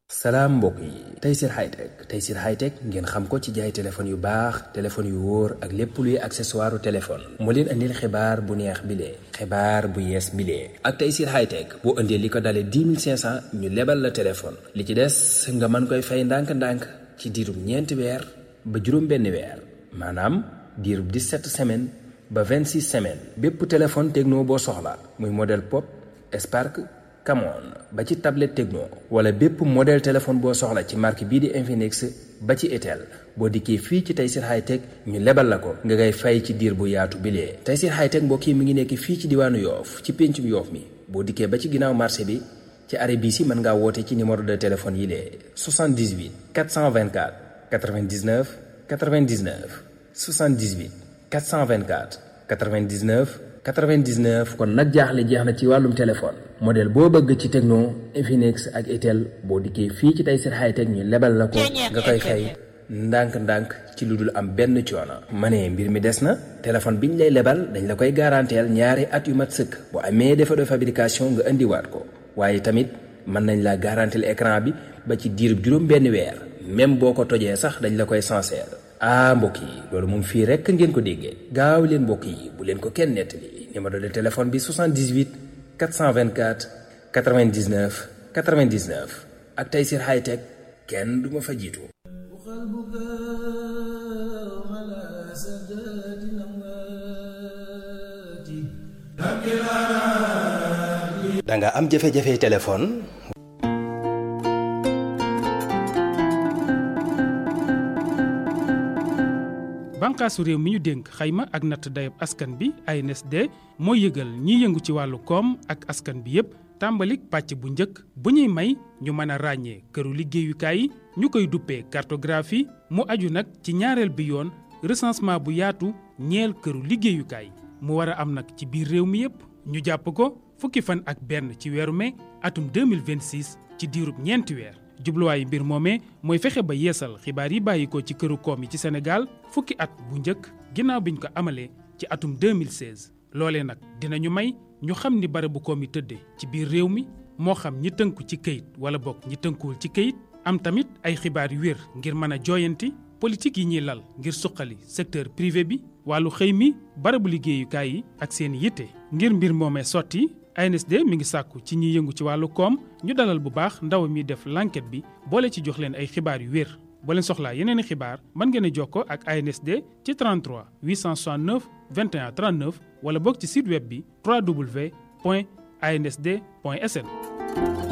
salaam mbokk yi Tayssir Hightech Tayssir Hightech ngeen xam ko ci jaay téléphone yu baax téléphone yu wóor ak lépp luy accessoire téléphone moo leen andil xibaar bu neex bilee xibaar bu yees bilee ak Tayssir Hightech boo indee li ko dalee 10 500 ñu lebal la téléphone li ci des nga mën koy fay ndànk-ndànk ci diirub ñeenti weer ba juróom benn weer maanaam diirub 17 semaines ba 26 semaines bépp téléphone Tecno boo soxla muy modèle Pop Spark Camon ba ci tablette Tecno wala bépp modèle téléphone boo soxla ci marque bii di Infinix ba ci Itel boo dikkee fii ci Tayssir Hightech ñu lebal la ko nga ngay fay ci diir bu yaatu bilee Tayssir Hightech mbokk yi mi ngi nekk fii ci diwaanu Yoof ci péncum Yoof mi boo dikkee ba ci ginnaaw marché bi ci arrêt bii si mën ngaa woote ci numéro de téléphone yi lee 78 424 99 99 78 424 99 99 kon nag jaaxle jeex na ci wàllum téléphone modèle boo bëgg ci Tecno Infinix ak Itel boo dikkee fii ci Tayssir Hightech ñu lebal la ko nga koy fay ndànk-ndànk ci lu dul am benn coono. ma ne mbir mi des na téléphone biñ lay lebal dañ la koy garanteel ñaari at yu mat sëkk bu amee défaut de fabrication nga indiwaat ko waaye tamit mën nañ la garanteel écran bi ba ci diirub juróom benn weer même boo ko tojee sax dañ la koy sincère. mbokk yi loolu moom fii rekk ngeen ko déggee gaaw leen mbokk yi bu leen ko kenn nettali numéro de téléphone bi 78 424 99 99 ak Tayssir Hightech kenn du ma fa jiitu. da nga am jafe-jafe téléphone. bànqaasu réew mi ñu dénk xayma ak natt dayab askan bi ANSD mooy yëgal ñiy yëngu ci wàllu koom ak askan bi yépp tàmbalik pàcc bu njëkk bu ñuy may ñu mën a ràññee këru liggéeyukaay yi ñu koy duppee cartographie mu aju nag ci ñaareel bi yoon recensement bu yaatu ñeel këru liggéeyukaay mu war a am nag ci biir réew mi yépp ñu jàpp ko fukki fan ak benn ci weeru mai atum 2026 ci diirub ñeenti weer. jubluwaayu mbir moomee mooy fexe ba yeesal xibaar yi bàyyikoo ci këru koom yi ci Sénégal fukki at bu njëkk ginnaaw biñ ko amalee ci atum 2016 loolee nag dinañu may ñu xam ni barabu koom yi tëddee ci biir réew mi moo xam ñi tënku ci këyit wala bokk ñi tënkuwul ci këyit am tamit ay xibaar yu wér ngir mën a jooyanti politique yi ñuy lal ngir suqali secteur privé bi wàllu xëy mi barabu liggéeyukaay yi ak seen yitte ngir mbir moomee sotti ANSD mi ngi sàkku ci ñiy yëngu ci wàllu koom ñu dalal bu baax ndaw mi def l'enquête bi boole ci jox leen ay xibaar yu wér boo leen soxlaa yeneen i xibaar mën ngeen a jokkoo ak ANSD ci 33 869 21 39 wala boog ci site web bi www.ansd.sn.